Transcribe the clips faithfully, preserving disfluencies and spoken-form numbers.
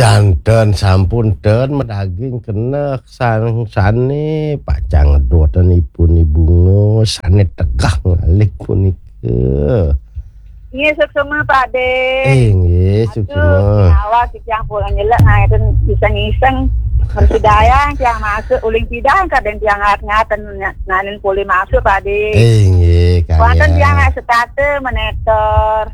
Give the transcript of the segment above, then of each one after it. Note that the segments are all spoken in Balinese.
Danten sampun ten medaging keneh sang sane pacang ngedoten ipun Ibu Ngus sane tegah ngalih punika. Nggih, suksma, Pak De. Eh, nggih, suksma. Aduh, awak titiang pun nyelek ngaten iseng-iseng. Persidayang tiang masuk uling sidang kadang tiang ngat-ngaten nanin pulih masuk, Pak De. Eh, nggih, kalian. Wonten tiang nggak setata menetor.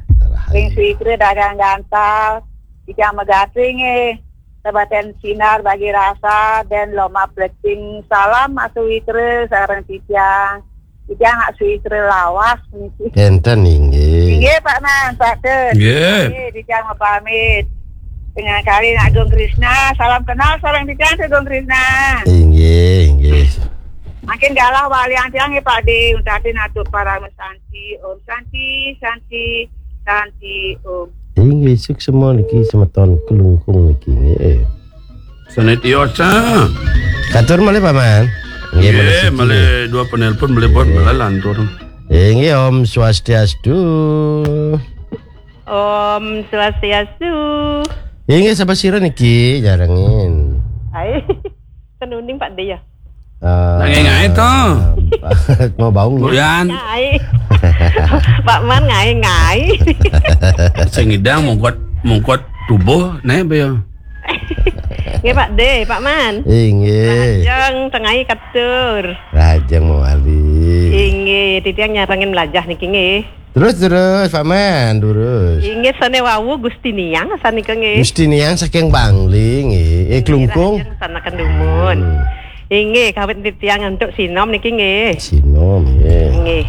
Ring Swikre dagang gantal. Titiang megati nggih. Sebaten sinar bagi rasa dan loma plecing. Salam Mas Swikre sareng titiang. Titiang Mas Swikre lawas niki. Enten inggih. Inggih Pak Man, Pak Tun. Nggih. Nggih, titiang mau pamit. Dengan kali Agung Krisna, salam kenal sareng titiang Agung Krisna. Inggih, inggih. Makin galah walian tiang nggih Pak De, untatin atur para mesanti. Om Santi, Santi, Santi, Om. Inggih, suksma niki semeton Kelungkung niki nggih. Sanetiosa. Katur malih Paman. Nggih, malih siki. Malih dua penelpon malih pun malih lantur. Inggih, Om Swastiastu. Om Swastiastu. Inggih, sapa sira niki nyarengin? Hai. Ten uning Pak De ya. Eh, Nak ngae-ngae to. Mau bau nggih? Goyan. Ngai. Pak Man ngai-ngai. Sing ngidang mungkot, mungkot tubuh ne apa ya? Nggih Pak De, Pak Man. Inggih. Lajeng tengai katur. Lajeng mawali. Inggih, titiang nyarengin melajah niki nggih. Terus, terus, Pak Man, terus. Inggih, sane wau Gusti Niang sanika nggih. Gusti Niang saking Bangli nggih. Eh, Kelungkung. Rahajeng sanaken dumun. Hmm. Inggih, kawit titiang antuk sinom niki nggih. Sinom nggih. Nggih.